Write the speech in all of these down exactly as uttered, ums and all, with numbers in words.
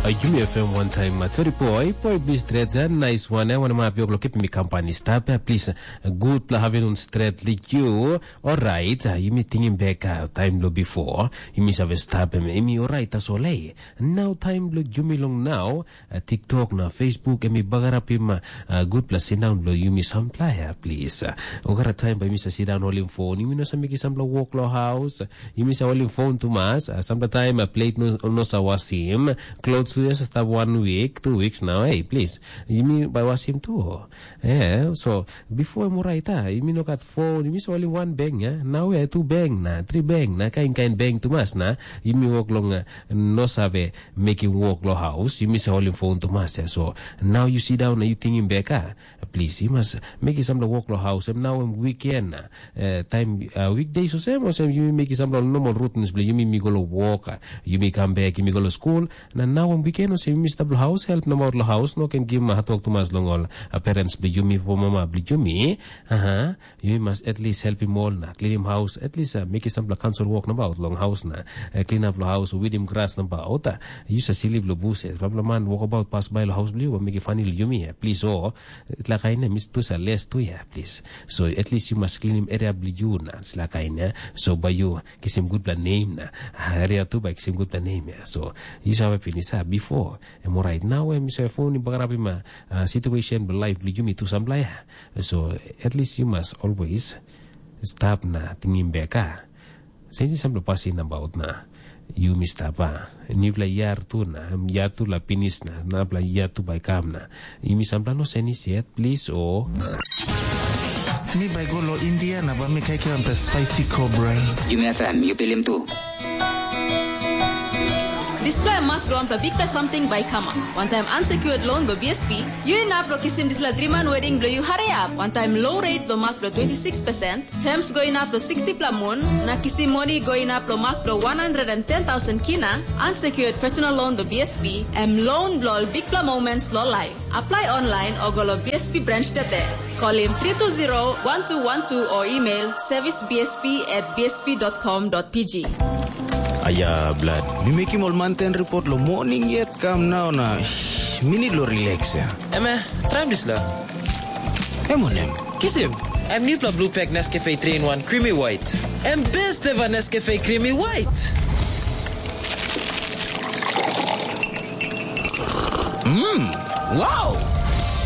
Yumi F M wantaim matori poi, poi plis stret, nice one, eh, wanama pio kipim mi company stap, eh, plis, good pla having un stret like you. Alright, uh, yumi tingim bek uh, time lo before, yumi save stap em, emi alright, tasol eh. Now time lo yumi long now, uh, TikTok na Facebook, emi bagarapim uh, uh, good pla sindaun lo yumi sampla ya, please. Uh, ogara time ba yumi sa sindaun holim phone, yumi no sa miki sampla walk lo house, Yumi sa holim phone tumas, ah, sampla taim ah, plate no, no sa wasim, clothes tu sa stap one week, two weeks now, hey, please, yumi bai wasim tu. Eh, so, before em orait, ah, yumi no gat phone, yumi sa holim one bank, ya, now ya, two bank na, three bank na, kain kain bank tumas na, yumi wok long, ah, no save mekim wok lo house, yumi sa holim phone tumas, ya, so, now you sit down na you tingim bek, ah, Plis, yu mas mekim sampela wok long haus, em nau em wiken na. Eh, taim uh, weekdays olsem, olsem yumi mekim sampela normal routines bilong yumi, mi go long wok, ah, yumi kam bek, yumi go long skul. Na nau em wiken olsem yumi stap long haus, help nomaut long haus, no ken givim hatwok tumas long ol uh, parents bilong yumi, po mama bilong yumi. Aha, yumi mas at least helpim ol na klinim haus, at least uh, mekim sampela kansel wok nabaut long haus na, uh, clean up long haus, widim gras nabaut, uh, yu sa slip long bus, eh, sampela man wokabaut pas bai long haus bilong yu, mekim fani long yumi, eh, plis o, Dispela kain nem i tu sa les tu ya, plis. So at least yu mas klinim eria bilong yu na dispela kain ya. So bai yu kisim gutpela nem na eria tu bai kisim gutpela nem ya. So yu save pinis a bipo em orait nau em yu save fon i bagarapim a situation bilong laip bilong yumi tu sampela ya. So at least yu mas always stap na tingim bek a. Senisim sampela pasin nabaut na yumi stap a. Nupela yar tu na, yar tu la pinis na, napela yar tu bai kam na. Yumi sampela no senis yet, plis o. Mi bai go lo India na bai mi kaikiram pe spicy cobra. Yumi F M, yu pilim tu. Dispela mak bilong wanpela bikpela samting bai i kamap. Wantaim unsecured loan bilong B S P, yu inap long kisim dispela driman wedding bilong yu hariap. Wantaim low rate bilong mak bilong twenty six percent, Terms go inap long sixty pla mun, na kisim moni go inap long mak bilong one hundred and ten thousand kina, unsecured personal loan bilong B S P, em loan bilong ol bikpela moments long laip. Apply online o go long B S P branch tete. Kolim three two zero one two one two o email service B S P at B S P dot com dot P G. Aya, blad. Mi mekim ol manten report lo morning yet kam nau na shh, mi need lo relax ya. Eme, traim dispela. Em wanem? Kisim. Em nupela blue pack Nescafe three in one Creamy White. Em best ever Nescafe Creamy White. Mmm, wow!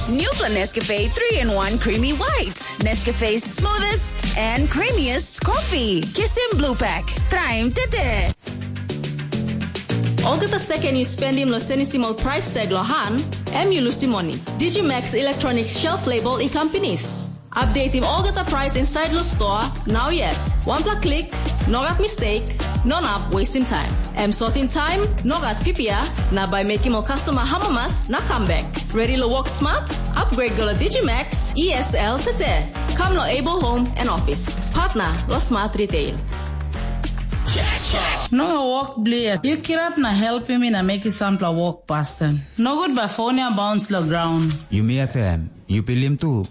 Nupela Nescafe three in one Creamy White. Nescafe's smoothest and creamiest coffee. Kisim blue pack. Traim tete. Olgeta seken yu spendim long senisim ol prais tag long han, em yu lusim moni. Digimax Electronic Shelf Label i kam pinis. Updatim olgeta prais insait long stoa, nau yet. Wanpela klik, no gat mistake, no inap wastim taim. Em sotim taim, no gat pipia, na bai mekim ol customer amamas na kam bek. Ready long work smart? Upgrade go long Digimax E S L tete. Kam long Able Home and Office. Partner long Smart Retail. No wok blia. Yu kirap na helpim mi na mekim sampela wok pasten. Nogut bai fon ya baunce long graun. Yumi F M, yu pilim tu.